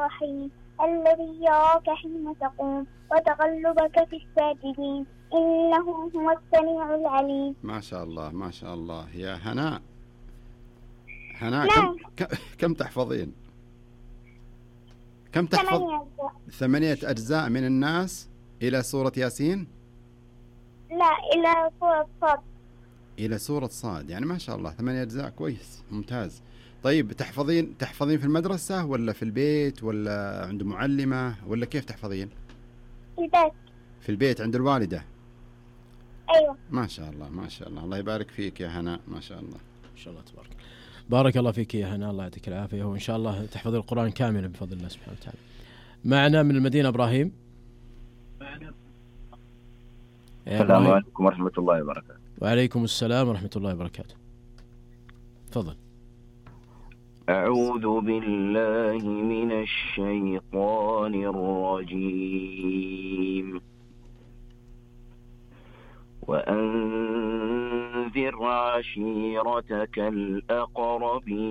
الرحيم الذي يراك حين تقوم وتقلبك في الساجدين إنه هو السميع العليم. ما شاء الله ما شاء الله. يا هناء نعم. كم تحفظين؟ كم تحفظ؟ 8 أجزاء من الناس إلى سورة ياسين؟ لا، إلى سورة صاد. إلى سورة صاد، يعني ما شاء الله 8 أجزاء، كويس ممتاز. طيب تحفظين في المدرسة ولا في البيت ولا عند معلمة ولا كيف تحفظين؟ في البيت. في البيت عند الوالدة؟ أيوة. ما شاء الله ما شاء الله. الله يبارك فيك يا هناء، ما شاء الله ما شاء الله تبارك. بارك الله فيك يا هناء، الله يعطيك العافية، وإن شاء الله تحفظ القرآن كاملا بفضل الله سبحانه وتعالى. معنا من المدينة إبراهيم. السلام عليكم ورحمة الله وبركاته. وعليكم السلام ورحمة الله وبركاته. تفضل. أعوذ بالله من الشيطان الرجيم. وأنذر عشيرتك الأقربين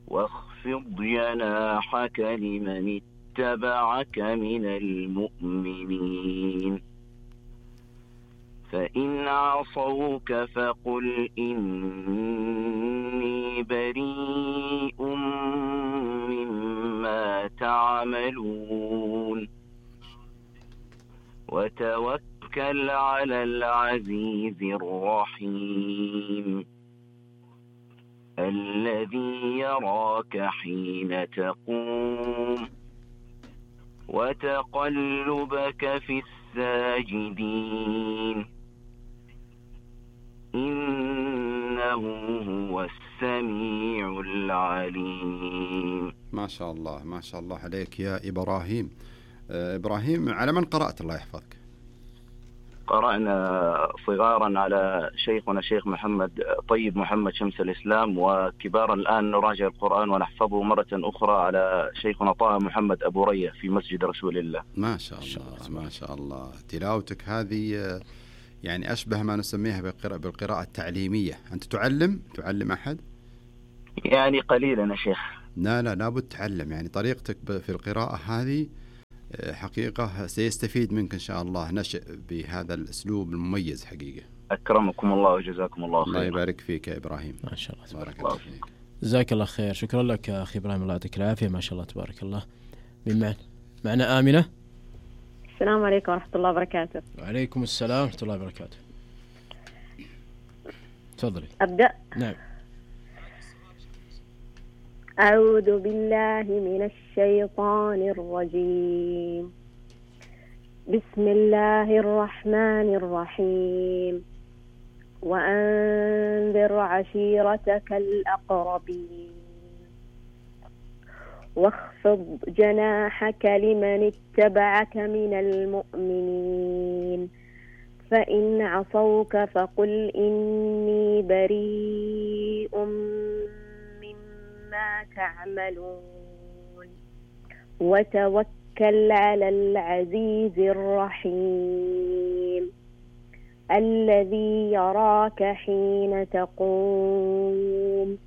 واخفض جناحك لمن اتبعك من المؤمنين فإن عصوك فقل إني بريء مما تعملون وتوكل على العزيز الرحيم الذي يراك حين تقوم وتقلبك في الساجدين إنه هو السميع العليم. ما شاء الله ما شاء الله عليك يا إبراهيم. إبراهيم، على من قرأت الله يحفظك؟ قرأنا صغارا على شيخنا شيخ محمد طيب محمد شمس الإسلام، وكبارا الآن نراجع القرآن ونحفظه مرة أخرى على شيخنا طه محمد أبو رية في مسجد رسول الله. ما شاء الله ما شاء الله. تلاوتك هذه يعني أشبه ما نسميها بالقراءة التعليمية. أنت تعلم أحد؟ يعني قليلا يا شيخ. لا لابد تعلم، يعني طريقتك في القراءة هذه حقيقة سيستفيد منك إن شاء الله نشأ بهذا الأسلوب المميز حقيقة. أكرمكم الله وجزاكم الله خير. الله يبارك فيك يا إبراهيم. ما شاء الله تبارك الله فيك. جزاك الله خير. شكرا لك يا أخي إبراهيم، الله يعطيك العافية. ما شاء الله تبارك الله. من معنا آمنة. السلام عليكم ورحمة الله وبركاته. وعليكم السلام ورحمة الله وبركاته. تفضلي. أبدأ. نعم. أعوذ بالله من الشيطان الرجيم. بسم الله الرحمن الرحيم. وأنذر عشيرتك الأقربين واخفض جناحك لمن اتبعك من المؤمنين فإن عصوك فقل إني بريء مما تعملون وتوكل على العزيز الرحيم الذي يراك حين تقوم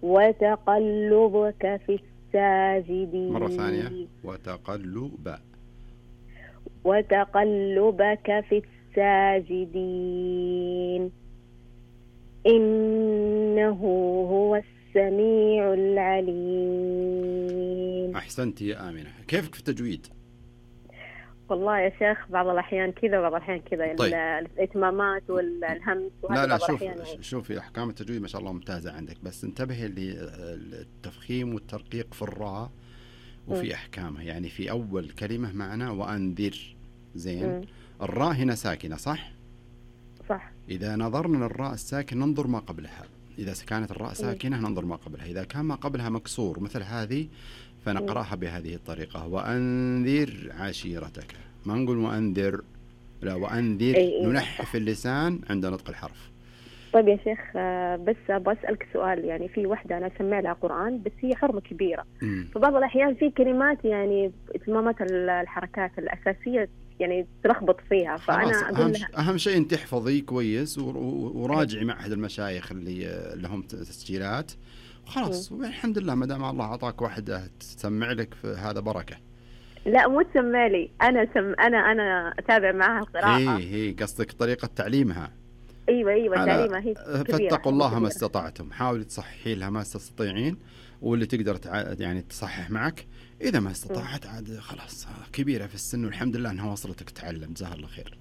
وتقلبك في الساجدين. مرة ثانية. وتقلبك في الساجدين إنه هو السميع العليم. أحسنت يا آمنة. كيفك في التجويد؟ والله يا شيخ بعض الأحيان كذا وبعض الأحيان كذا. طيب. الإتمامات والهمس لا شوفي أحكام التجويد ما شاء الله ممتازة عندك، بس انتبهي للتفخيم والترقيق في الراء وفي أحكامها. يعني في أول كلمة معنا وأنذر زين. الراء هنا ساكنة صح؟ إذا نظرنا للراء الساكن ننظر ما قبلها. إذا كانت الراء ساكنة ننظر ما قبلها. إذا كان ما قبلها مكسور مثل هذه فنقرأها بهذه الطريقة. وأنذر عشيرتك. ما نقول وأنذر، لا وأنذر. ننحف اللسان عند نطق الحرف. طيب يا شيخ، بس أبغى أسألك سؤال. يعني في وحدة أنا أسمع لها قرآن بس هي حرمة كبيرة. فبعض الأحيان في كلمات يعني إتمامات الحركات الأساسية يعني تلخبط فيها. فأنا أقول لها أهم شيء أن تحفظي كويس وراجعي معهد المشايخ اللي لهم تسجيلات خلاص والحمد لله ما دام الله أعطاك واحدة تسمع لك هذا بركة. لا مو تسمع لي، أنا أتابع معها القراءة. هي قصدك طريقة تعليمها. أيوة تعليمها هي كبيرة. فاتقوا الله ما استطعتم، حاولي تصححي لها ما تستطيعين، واللي تقدر يعني تصحح معك. إذا ما استطاعت عاد خلاص كبيرة في السن والحمد لله أنها وصلتك تتعلم. جزاها الله خير.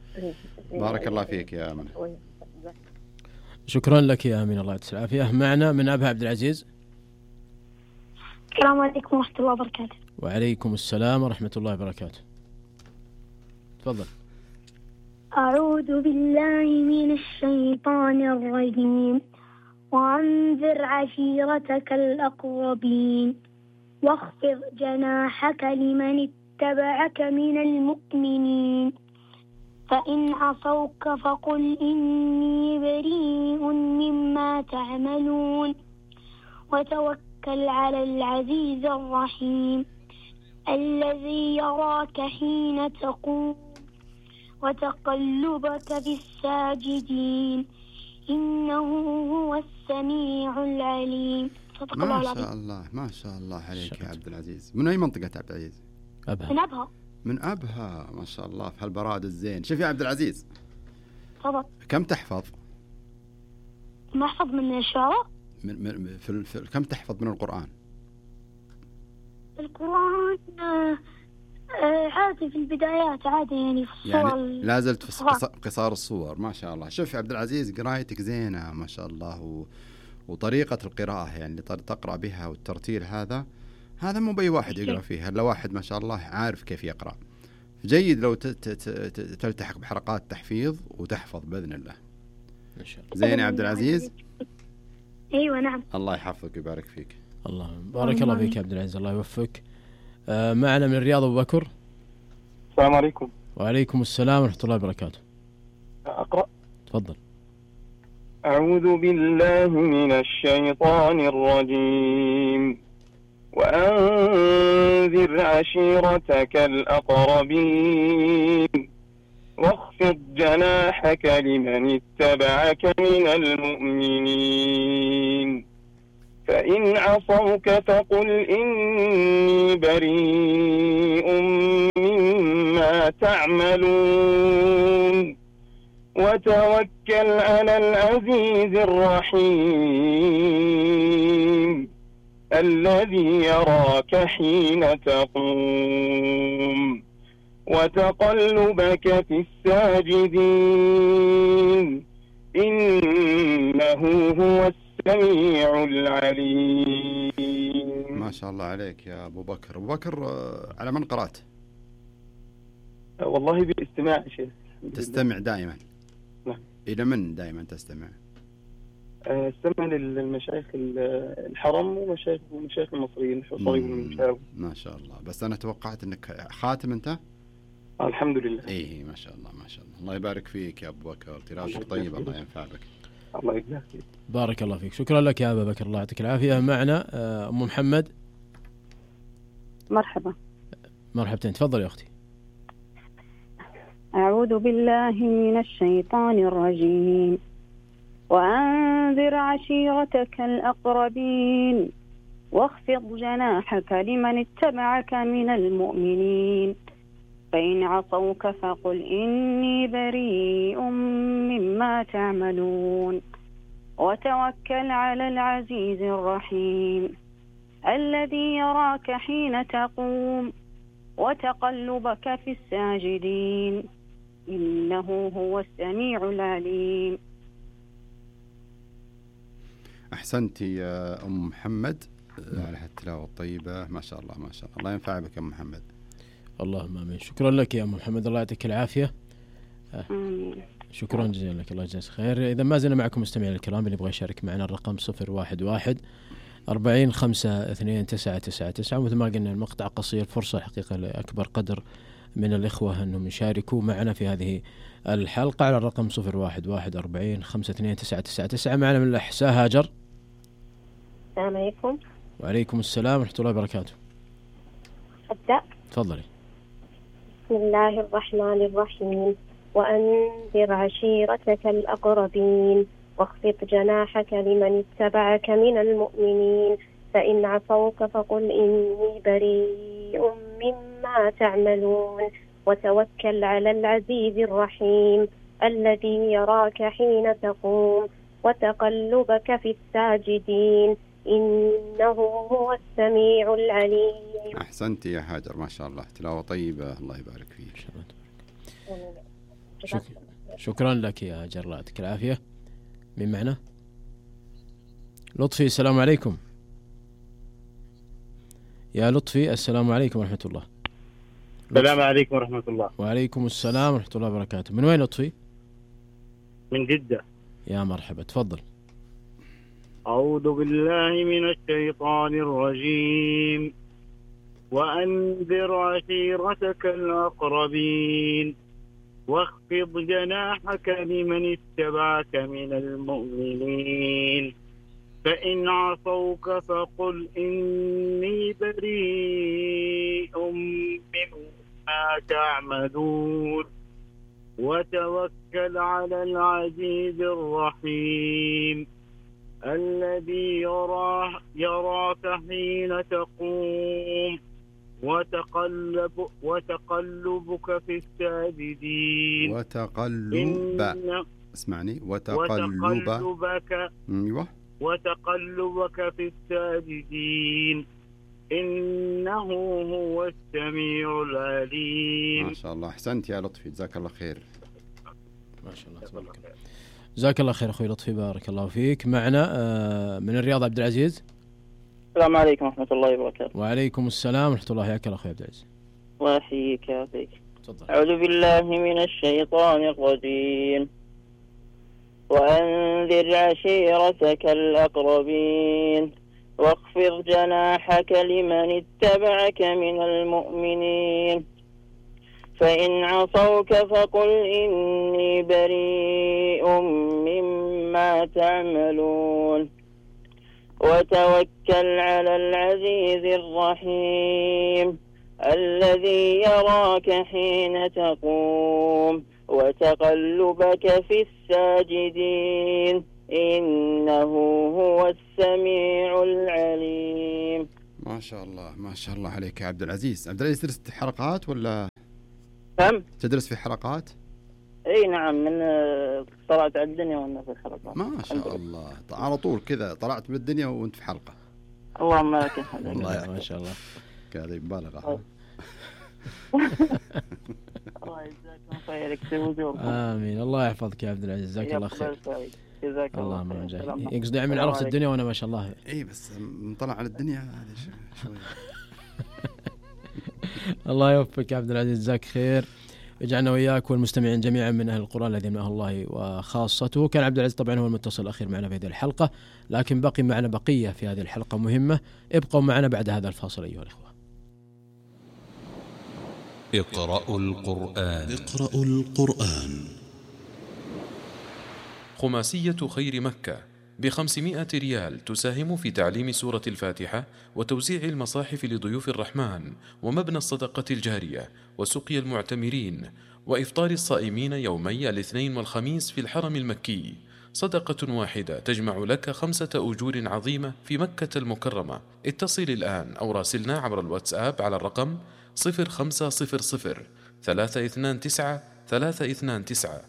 بارك الله فيك يا آمنة. شكرا لك يا آمنة، الله يعطيك العافية. معنا من أبها عبد العزيز. السلام عليكم ورحمة الله وبركاته. وعليكم السلام ورحمة الله وبركاته. تفضل. أعوذ بالله من الشيطان الرجيم. وأنذر عشيرتك الأقربين واخفض جناحك لمن اتبعك من المؤمنين فإن عصوك فقل إني بريء مما تعملون وتوكل على العزيز الرحيم الذي يراك حين تقوم وتقلبك في الساجدين إنه هو السميع العليم. ما شاء الله عليك يا عبد العزيز. من أي منطقة عبد العزيز؟ أبها. من أبها ما شاء الله في هالبراد الزين. شوف يا عبد العزيز، طبعا. كم تحفظ؟ ما أحفظ من الشعراء. كم تحفظ من القرآن؟ القرآن عادي في البدايات، عادي يعني في الصور يعني لا زلت في قصار الصور. ما شاء الله. شوف يا عبد العزيز، قرايتك زينة ما شاء الله، وطريقة القراءة يعني تقرأ بها والترتيل هذا مو بأي واحد يقرأ فيها إلا واحد ما شاء الله عارف كيف يقرأ. جيد لو تلتحق بحلقات تحفيظ وتحفظ بإذن الله. إن شاء الله. زين يا عبد العزيز. أيوة نعم. الله يحفظك ويبارك فيك. الله بارك الله فيك يا عبد العزيز، الله يوفقك. معنا من الرياض أبو بكر. السلام عليكم. وعليكم السلام ورحمة الله وبركاته. أقرأ. تفضل. أعوذ بالله من الشيطان الرجيم. وأنذر عشيرتك الأقربين واخفض جناحك لمن اتبعك من المؤمنين فإن عصوك فقل إني بريء مما تعملون وتوكل على العزيز الرحيم الذي يراك حين تقوم وتقلبك في الساجدين إنه هو السميع العليم. ما شاء الله عليك يا أبو بكر. أبو بكر، على من قرأت؟ والله بالاستماع شيخ. تستمع دائما؟ نعم. إلى من دائما تستمع؟ استمع للمشايخ الحرم ومشايخ المصريين الصليب والمشاوي. ما شاء الله. بس أنا توقعت أنك خاتم أنت؟ الحمد لله. إيه ما شاء الله ما شاء الله. الله يبارك فيك يا أبو بكر، تلاوتك طيب، الله ينفع بك. الله يجزاك خير. بارك الله فيك. شكرا لك يا أبا بكر، الله يعطيك العافية. معنا أم محمد. مرحبا. مرحبتين، تفضل يا أختي. أعوذ بالله من الشيطان الرجيم. وأنذر عشيرتك الأقربين واخفض جناحك لمن اتبعك من المؤمنين فإن عصوك فقل إني بريء مما تعملون وتوكل على العزيز الرحيم الذي يراك حين تقوم وتقلبك في الساجدين إنه هو السميع العليم. أحسنتي يا أم محمد على هالتلاوة الطيبة، ما شاء الله ما شاء الله. الله ينفع بك يا أم محمد. اللهم آمين. شكرا لك يا أم محمد، الله يعطيك العافية. شكرا جزيلا لك، الله يجزاك خير. إذا ما زلنا معكم مستمعين الكرام، اللي يبغى يشارك معنا الرقم 011 40 5 2 9 9 9. ومثل ما قلنا المقطع قصير، فرصة حقيقة لأكبر قدر من الإخوة أنهم يشاركوا معنا في هذه الحلقة على الرقم 011 40 5 2 9 9 9. معنا من الأحساء هاجر. السلام عليكم. وعليكم السلام ورحمة الله وبركاته. أبدأ. تفضلي. بسم الله الرحمن الرحيم. وأنذر عشيرتك الأقربين واخفض جناحك لمن اتبعك من المؤمنين فإن عصوك فقل إني بريء مما تعملون وتوكل على العزيز الرحيم الذي يراك حين تقوم وتقلبك في الساجدين إنه هو السميع العليم. أحسنت يا هاجر، ما شاء الله، تلاوة طيبة، الله يبارك فيك. شكرا لك يا هاجر، الله يعطيك العافية. من معنا؟ لطفي، السلام عليكم. يا لطفي السلام عليكم ورحمة الله. السلام عليكم ورحمة الله. وعليكم السلام ورحمة الله وبركاته. من وين لطفي؟ من جدة. يا مرحبا، تفضل. أعوذ بالله من الشيطان الرجيم. وأنذر عشيرتك الأقربين واخفض جناحك لمن اتبعك من المؤمنين فإن عصوك فقل إني بريء مما تعملون وتوكل على العزيز الرحيم الذي يراك حين تقوم وتقلبك في الساجدين. اسمعني، وتقلبك في الساجدين إنه هو السميع العليم. ما شاء الله، أحسنت يا لطفي، جزاك الله خير. ما شاء الله، تبارك الله. جزاك الله خير أخوي لطفي، بارك الله فيك. معنا من الرياض عبد العزيز. السلام عليكم ورحمة الله وبركاته. وعليكم السلام ورحمة الله. حياك الله أخوي عبد العزيز. الله يحييك يا أخي. تفضل. أعوذ بالله من الشيطان الرجيم. وأنذر عشيرتك الأقربين واخفض جناحك لمن اتبعك من المؤمنين فإن عصوك فقل إني بريء مما تعملون وتوكل على العزيز الرحيم الذي يراك حين تقوم وتقلبك في الساجدين إنه هو السميع العليم. ما شاء الله، ما شاء الله عليك يا عبد العزيز. عبد العزيز، تدرس حلقات ولا؟ نعم. تدرس في حلقات؟ اي نعم، من طلعت على الدنيا وانا في الحلقات. ما شاء الله، على طول كذا طلعت من الدنيا وانت في حلقة. اللهم لك الحمد. والله ما شاء الله، هذه مبالغة. الله يجزاكم خير، يكسب وجوهكم. آمين، الله يحفظك يا عبد العزيز، جزاك الله خير. جزاك الله خير. الله يقصد من عرفت الدنيا وانا ما شاء الله. اي بس نطلع على الدنيا هذه شوي. الله يوفقك يا عبد العزيز، جزاك خير. يجعلنا وإياك والمستمعين جميعا من أهل القرآن الذين من أهل الله وخاصته. كان عبد العزيز طبعا هو المتصل الأخير معنا في هذه الحلقة، لكن بقي معنا بقية في هذه الحلقة مهمة. ابقوا معنا بعد هذا الفاصل أيها الأخوة. اقرأوا القرآن. اقرأوا القرآن. خماسية خير مكة ب500 ريال تساهم في تعليم سورة الفاتحة وتوزيع المصاحف لضيوف الرحمن ومبنى الصدقة الجارية وسقي المعتمرين وإفطار الصائمين يومي الاثنين والخميس في الحرم المكي. صدقة واحدة تجمع لك 5 أجور عظيمة في مكة المكرمة. اتصل الآن أو راسلنا عبر الواتساب على الرقم 0500 329 329.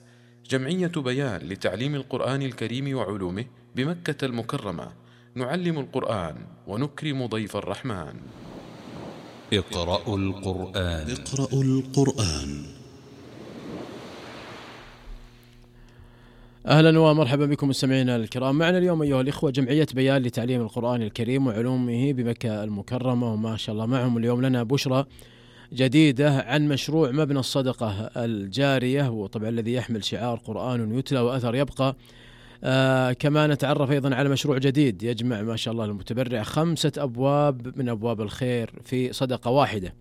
جمعية بيان لتعليم القرآن الكريم وعلومه بمكة المكرمة. نعلم القرآن ونكرم ضيف الرحمن. اقرأوا القرآن. اقرأوا القرآن. أهلا ومرحبا بكم مستمعينا الكرام. معنا اليوم أيها الإخوة جمعية بيان لتعليم القرآن الكريم وعلومه بمكة المكرمة، وما شاء الله معهم اليوم لنا بشرى جديدة عن مشروع مبنى الصدقة الجارية، وطبعا الذي يحمل شعار قرآن يتلى وأثر يبقى. كما نتعرف أيضا على مشروع جديد يجمع ما شاء الله المتبرع 5 أبواب من أبواب الخير في صدقة واحدة.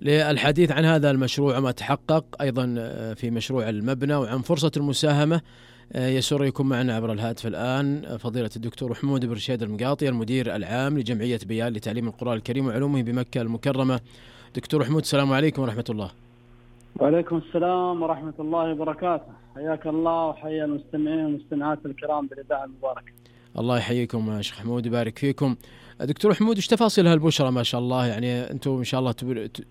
للحديث عن هذا المشروع وما تحقق أيضا في مشروع المبنى وعن فرصة المساهمة، يسر يكون معنا عبر الهاتف الآن فضيلة الدكتور حمود بن رشيد المقاطي، المدير العام لجمعية بيان لتعليم القرآن الكريم وعلومه بمكة المكرمة. دكتور حمود، السلام عليكم ورحمة الله. وعليكم السلام ورحمة الله وبركاته. حياك الله وحيا المستمعين والمستمعات الكرام بالإذاعة المباركة. الله يحييكم يا شيخ حمود ويبارك فيكم. دكتور حمود، ايش تفاصيل هالبشرة ما شاء الله؟ يعني أنتم إن شاء الله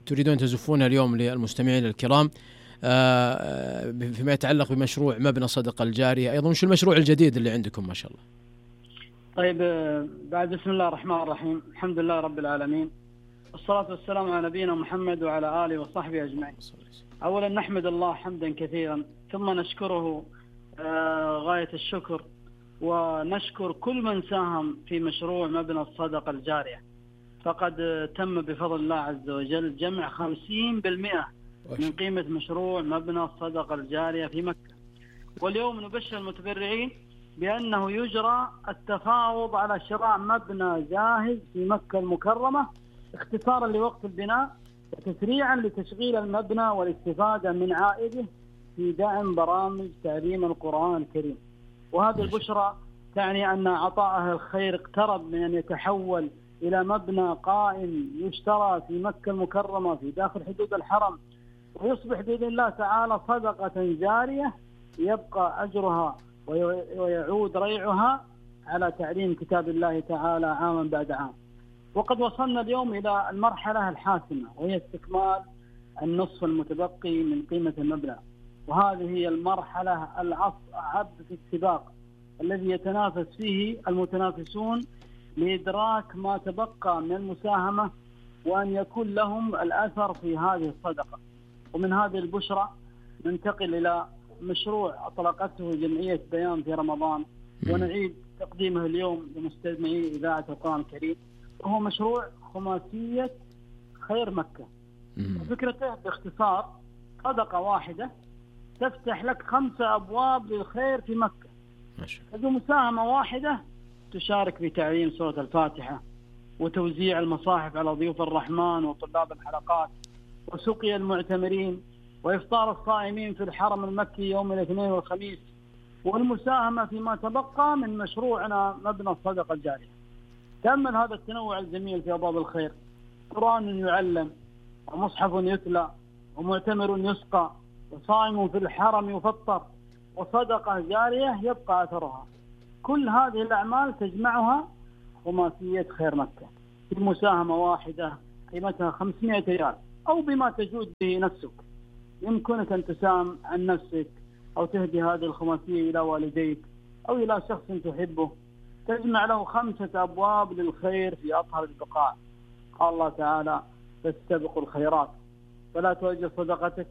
تريدون تزفونها اليوم للمستمعين الكرام فيما يتعلق بمشروع مبنى الصدقة الجارية، أيضا وش المشروع الجديد اللي عندكم ما شاء الله؟ طيب، بعد بسم الله الرحمن الرحيم، الحمد لله رب العالمين، والصلاة والسلام على نبينا محمد وعلى آله وصحبه أجمعين. أولا نحمد الله حمدا كثيرا، ثم نشكره غاية الشكر، ونشكر كل من ساهم في مشروع مبنى الصدقة الجارية. فقد تم بفضل الله عز وجل جمع 50% من قيمة مشروع مبنى الصدقة الجارية في مكة. واليوم نبشر المتبرعين بأنه يجرى التفاوض على شراء مبنى جاهز في مكة المكرمة اختصارا لوقت البناء وتسريعا لتشغيل المبنى والاستفادة من عائده في دعم برامج تعليم القرآن الكريم. وهذه البشرى تعني أن عطاء أهل الخير اقترب من أن يتحول إلى مبنى قائم يشترى في مكة المكرمة في داخل حدود الحرم، ويصبح بإذن الله تعالى صدقة جارية يبقى أجرها ويعود ريعها على تعليم كتاب الله تعالى عاما بعد عام. وقد وصلنا اليوم إلى المرحلة الحاسمة، وهي استكمال النصف المتبقي من قيمة المبنى. وهذه هي المرحلة الأصعب في السباق الذي يتنافس فيه المتنافسون لإدراك ما تبقى من المساهمة وأن يكون لهم الأثر في هذه الصدقة. ومن هذه البشرى ننتقل إلى مشروع أطلقته جمعية بيان في رمضان، ونعيد تقديمه اليوم لمستمعي إذاعة القرآن الكريم، وهو مشروع خماسية خير مكة. فكرته باختصار صدقة واحدة تفتح لك 5 أبواب للخير في مكة. بمساهمة واحدة تشارك في تعليم سورة الفاتحة، وتوزيع المصاحف على ضيوف الرحمن وطلاب الحلقات، وسقي المعتمرين، وإفطار الصائمين في الحرم المكي يوم الاثنين والخميس، والمساهمة فيما تبقى من مشروعنا مبنى الصدقة الجارية. تأمل هذا التنوع الجميل في أبواب الخير: قرآن يعلم، ومصحف يتلى، ومعتمر يسقى، وصائم في الحرم يفطر، وصدقة جارية يبقى أثرها. كل هذه الأعمال تجمعها خماسية خير مكة في مساهمة واحدة قيمتها 500 ريال، أو بما تجود به نفسك. يمكنك أن تساهم عن نفسك، أو تهدي هذه الخماسية إلى والديك أو إلى شخص تحبه، تجمع له 5 أبواب للخير في أطهر البقاع. قال الله تعالى: فاستبقوا الخيرات. فلا تؤجل صدقتك،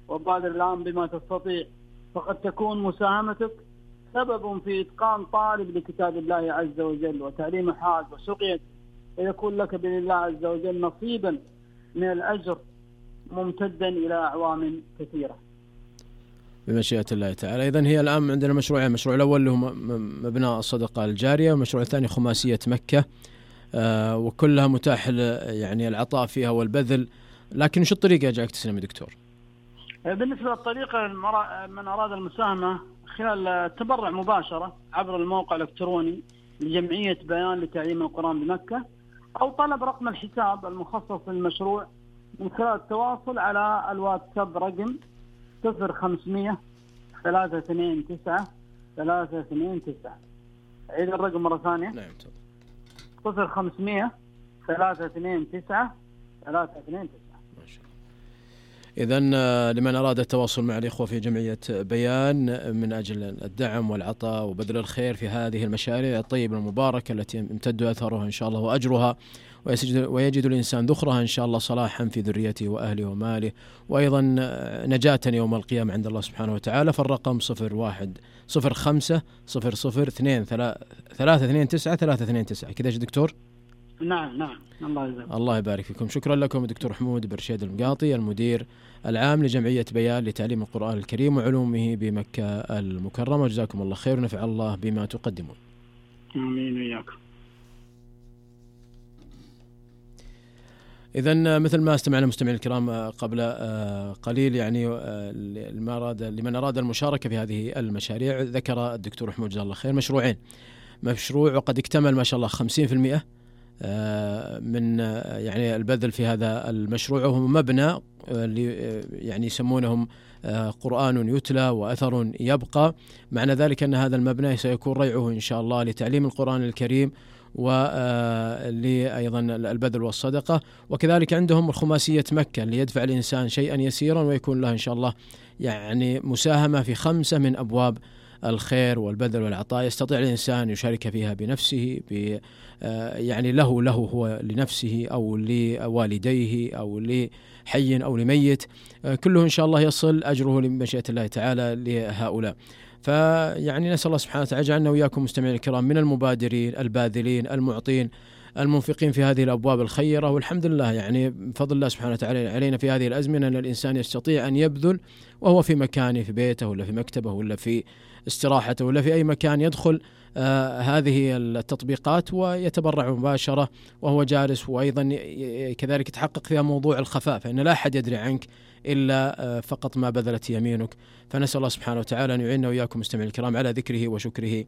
وبادر الآن بما تستطيع، فقد تكون مساهمتك سبب في إتقان طالب لكتاب الله عز وجل وتعليم حاج وسقيت، ويكون لك بإذن الله عز وجل نصيبا من الأجر ممتدا إلى أعوام كثيرة بمشيئة الله تعالى. إذن هي الآن عندنا مشروعين: المشروع الأول اللي هو مبنى الصدقة الجارية، والمشروع الثاني خماسية مكة، وكلها متاح يعني العطاء فيها والبذل. لكن شو الطريقة يجعلك تسلم يا دكتور؟ بالنسبة للطريقة، من أراد المساهمة خلال التبرع مباشرة عبر الموقع الإلكتروني لجمعية بيان لتعليم القرآن بمكة، أو طلب رقم الحساب المخصص للمشروع من خلال التواصل على الواتساب رقم 0500 329 329. عيد الرقم مرة ثانية. نعم. 0500 329 329. إذن لمن أراد التواصل مع الإخوة في جمعية بيان من أجل الدعم والعطاء وبذل الخير في هذه المشاريع الطيبة المباركة التي يمتد أثرها إن شاء الله وأجرها، ويجد الإنسان ذخرها إن شاء الله صلاحا في ذريته وأهله وماله، وأيضا نجاة يوم القيامة عند الله سبحانه وتعالى. فالرقم 0105 00 2 329 329. كذا يا دكتور؟ نعم. الله يبارك فيكم. شكرا لكم دكتور حمود برشيد المقاطي، المدير العام لجمعية بيان لتعليم القرآن الكريم وعلومه بمكة المكرمة. جزاكم الله خير، ونفع الله بما تقدمون. آمين وإياكم. إذن مثل ما استمعنا مستمعين الكرام قبل قليل، يعني لمن أراد المشاركة في هذه المشاريع، ذكر الدكتور حمود جزاه الله خير مشروعين: مشروع وقد اكتمل ما شاء الله 50% من يعني البذل في هذا المشروع، وهو مبنى اللي يعني يسمونهم قرآن يتلى وأثر يبقى. معنى ذلك أن هذا المبنى سيكون ريعه إن شاء الله لتعليم القرآن الكريم ولأيضا البذل والصدقة. وكذلك عندهم الخماسية مكة اللي يدفع الإنسان شيئا يسيرا ويكون له إن شاء الله يعني مساهمة في 5 من أبواب الخير والبذل والعطاء، يستطيع الإنسان يشارك فيها بنفسه يعني له هو لنفسه أو لوالديه أو لحي أو لميت، كله إن شاء الله يصل أجره لمشيئة الله تعالى لهؤلاء. فيعني نسأل الله سبحانه وتعالى يجعلنا وإياكم مستمعين الكرام من المبادرين الباذلين المعطين المنفقين في هذه الأبواب الخيرة. والحمد لله يعني بفضل الله سبحانه وتعالى علينا في هذه الأزمنة أن الإنسان يستطيع أن يبذل وهو في مكانه، في بيته ولا في مكتبه ولا في استراحته ولا في أي مكان، يدخل هذه التطبيقات ويتبرع مباشرة وهو جالس، وأيضا كذلك يتحقق فيها موضوع الخفاء، فإن لا أحد يدري عنك إلا فقط ما بذلت يمينك. فنسأل الله سبحانه وتعالى أن يعيننا وإياكم مستمعين الكرام على ذكره وشكره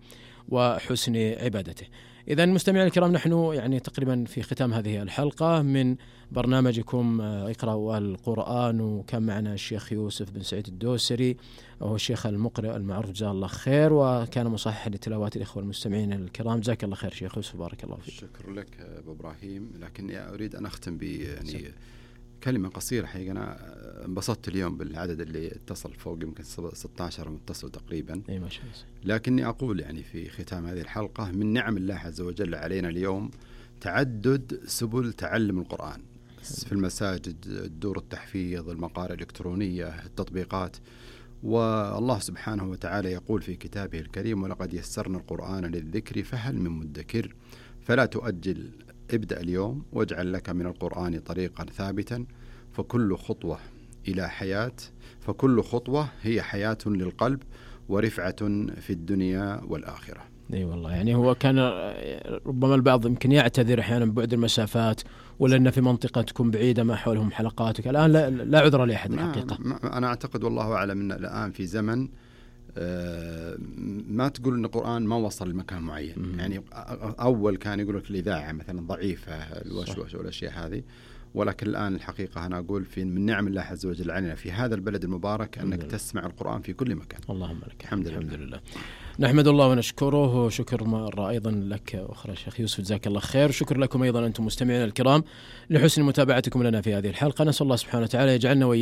وحسن عبادته. إذا مستمعين الكرام، نحن يعني تقريبا في ختام هذه الحلقة من برنامجكم اقرأوا القرآن، وكان معنا الشيخ يوسف بن سعيد الدوسري وهو الشيخ المقرئ المعروف جزاه الله خير، وكان مصححا لتلاوات الإخوة المستمعين الكرام. جزاك الله خير شيخ يوسف، بارك الله فيك. شكرا لك أبو إبراهيم، لكن أريد أن أختم يعني كلمة قصيرة. حقيقة أنا انبسطت اليوم بالعدد اللي اتصل، فوق يمكن 16 متصل تقريبا. أي ما شاء الله. لكني أقول يعني في ختام هذه الحلقة من نعم الله عز وجل علينا اليوم تعدد سبل تعلم القرآن في المساجد، الدور التحفيظ، المقارئ الإلكترونية، التطبيقات. والله سبحانه وتعالى يقول في كتابه الكريم: ولقد يسرنا القرآن للذكر فهل من مدكر. فلا تؤجل، ابدأ اليوم واجعل لك من القرآن طريقا ثابتا، فكل خطوة هي حياة للقلب ورفعة في الدنيا والآخرة. اي والله، يعني هو كان ربما البعض يمكن يعتذر احيانا ببعد المسافات، ولا ان في منطقه تكون بعيده ما حولهم حلقاتك. الان لا عذر لاحد الحقيقه. انا اعتقد والله اعلم ان الان في زمن ما تقول ان القرآن ما وصل لمكان معين. يعني اول كان يقول لك الاذاعه مثلا ضعيفه، الوشوش والاشياء هذه، ولكن الآن الحقيقة أنا أقول من نعم الله عز وجل علينا في هذا البلد المبارك أنك تسمع القرآن في كل مكان. اللهم لك الحمد لله. نحمد الله ونشكره، وشكر مرة أيضا لك أخرى شيخ يوسف، جزاك الله خير. شكر لكم أيضا أنتم مستمعين الكرام لحسن متابعتكم لنا في هذه الحلقة. نسأل الله سبحانه وتعالى يجعلنا وإياكم